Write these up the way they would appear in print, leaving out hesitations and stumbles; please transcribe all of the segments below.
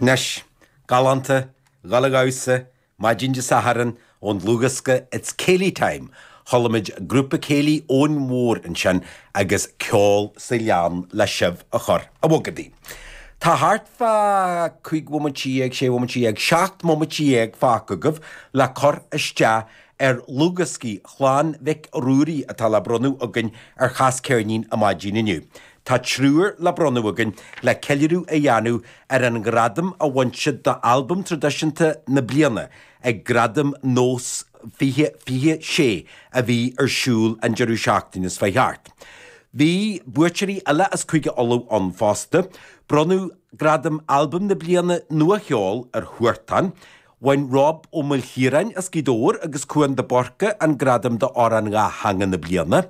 Anois, galánta, dhul a dhamhsa, maidin Dé Sathairn, ón dlúthdhiosca It's Céilí Time, chuala muid grúpa céilí Eoin Mhór ansin agus Ceol sa Ghleann le sibh a chur a bhogadaí. Tá thart fá 15 bhomaite, 16 bhomaite, 17 mbomaite fágtha agaibh le cur isteach ar dhlúthdhioscaí Chlann Mhic Ruairí atá le bronnadh againn ar Chas Ceirnín an maidin inniu. Tá triúr le bronnadh againn le ceiliúradh a dhéanamh ar an ngradam a bhain siad d'Albam Traidisiúnta na Bliana ag Gradaim Nós 2026 a bhí ar siúl an deireadh seachtaine seo chuaigh thart. Bhí buaiteoirí eile as Cúige Uladh ann fosta. Bronnadh gradam Albam na Bliana Nua-Cheoil ar Huartan. Bhain Rob Ó Maoilchiaráin as Gaoth Dobhair agus Cúán de Búrca an gradam d'Amhrán Dhátheangach na Bliana.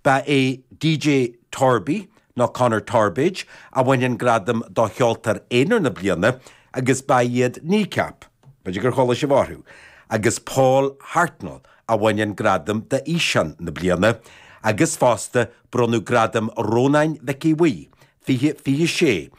Ba é DJ Torby, nó Conor Torbage, a bhain an gradam do Cheoltóir Aonair na Bliana agus ba iad Kneecap, b'fhéidir gur chuala sibh orthu, agus Paul Hartnoll a bhain an gradam d'Fhíseán na Bliana agus fosta bronnadh Gradam Rónáin Mhic Aodha Bhuí 2026,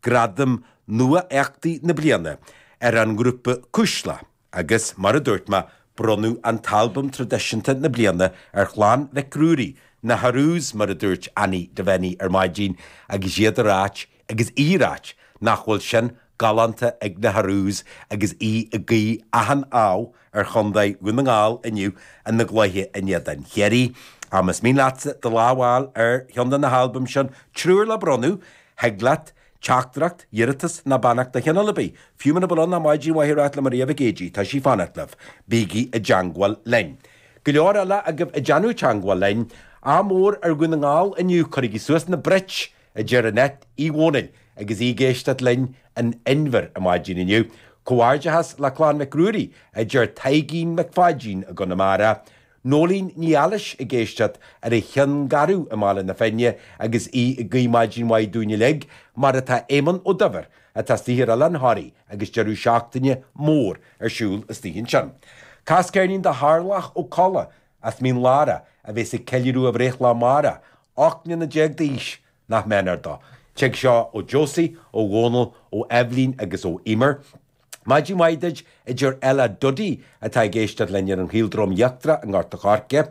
Gradam Nua-Éachtaí na Bliana ar an ngrúpa Cuisle agus, mar a dúirt mé, bronnadh an t-albam traidisiúnta na bliana ar Chlann Mhic Ruairí, na Haroos mar a dúirt Annie Devenny ar maidin agus iad a ráit, agus í a ráit, nach bhfuil sin galánta ag na Haroos agus í ag guí achan ádh ar Chontae Dhún na nGall inniu ina gcluiche in éadan Chiarraí. Ach más mian leatsa do lámh a fháil ar cheann de na halbaim sin, triúr le bronnadh, Thig leat teachtaireacht, iarratas ná beannacht de chineál ar bith, fiú muna bhfuil ann ach maidin mhaith a ráit le Maria Mhic Géidigh, tá sí ag fanacht libh. Bígí i dteangmháil linn. Go leor eile agaibh ag déanamh teangmháil linn. Ádh mór ar Dhún na nGall inniu, cuirigí suas na Brits! a deir Annette Uí Dhónaill agus í ag éisteacht linn in Inbhir an maidin inniu. Comhghairdeachas le Clann Mhic Ruairí, a deir Taidhgín Mac Pháidín i gConamara. Nóilín Ní Ailís ag éisteacht ar an Chionn Garbh i mBaile na Finne agus í ag guí maidin mhaith dúinn uilig, mar atá Éamonn Ó Duibhir, atá istigh ar Oileán Thoraí agus deireadh seachtaine mór ar siúl istigh ansin. Cas ceirnín do Tharlach Ó Colla as Mín Lárach a bhéas ag ceiliúradh a bhreithlá amárach, 18 mbliana d'aois, nach méanar dó. Tig seo ó Josie, ó Dhónal, ó Eibhlín agus ó Emer. Maidin mhaith duit, a deir Ella Duddy atá ag éisteacht linn ar an Chaoldroim Íochtarach i nGort a' Choirce.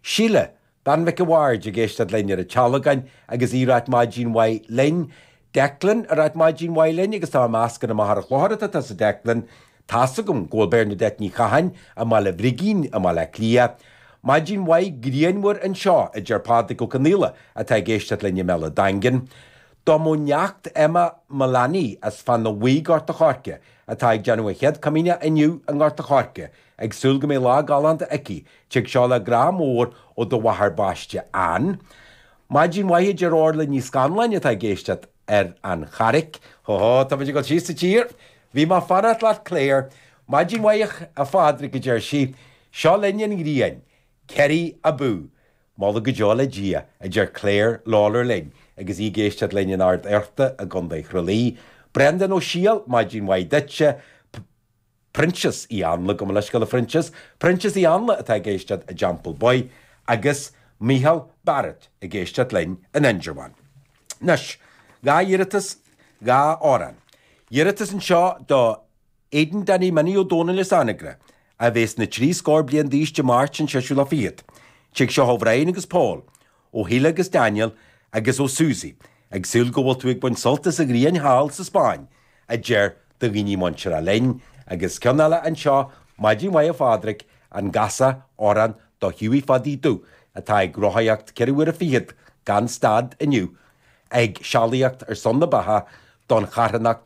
Síle, bean Mhic a' Bhaird ag éisteacht linn ar an Tealgán agus í ag ráit maidin mhaith linn. Declan ag ráit maidin mhaith linn agus tá mé ag meas gur i Machaire Chlochair atá tusa Declan. Tá's agam go bhfuil Bernadette Ní Chatháin i mBaile Bhrigín i mBaile Átha Cliath. Maidin mhaith grianmhar anseo, a deir Pádraig Ó Conaola atá ag éisteacht linn i mBéal an Daingin. Do mo neacht Emma Mullaney as Fána Bhuí Gort a' Choirce, atá ag déanamh a chéad comaoineach inniu i nGort a' Choirce, ag súil go mbeidh lá galánta aici, tig seo le grá mór ó do mháthair baiste Ann. Maidin mhaith a deir Orla Ní Scanláin atá ag éisteacht ar an Charraic. Hó hó, tá muid ag dul síos sa tír! Bhí mé ag fanacht leat Claire. Maidin mhaith a Phádraig a deir sí, seo linn an ghrian. Kerry abú! Moladh go deo le Dia, a deir Claire Lawlor linn agus í ag éisteacht linn in Ard Fhearta i gContae Thraolí. Breandán Ó Siadhail, maidin mhaith duitse. Proinsias Uí Anla, gabh mo leithscéal a Phroinsias. Proinsias Uí Anla atá ag éisteacht i dTeampall Bhoy agus Micheál Barrett ag éisteacht linn in Indreabhán. Anois, 2 iarratas, 2 amhrán. Iarratas anseo do Aidan Danny Minnie Ó Dónaill as Anagaire, a bhéas na trí scór bliain d'aois Dé Máirt an seisiú lá fichead. Tig seo ó Bhrian agus Paul, ó Shíle agus Daniel agus ó Susie, ag súil go bhfuil tú ag baint sult as an ghrian thall sa Spáinn, a deir do dhaoine muinteartha linn. Agus ceann eile anseo, Maidin mhaith a Phádraig, an gcasfá amhrán do Hughie Pháidí Dubh, atá ag rothaíocht ceithre huaire fichead gan stad inniu, ag sealaíocht ar son na beatha don charthanacht.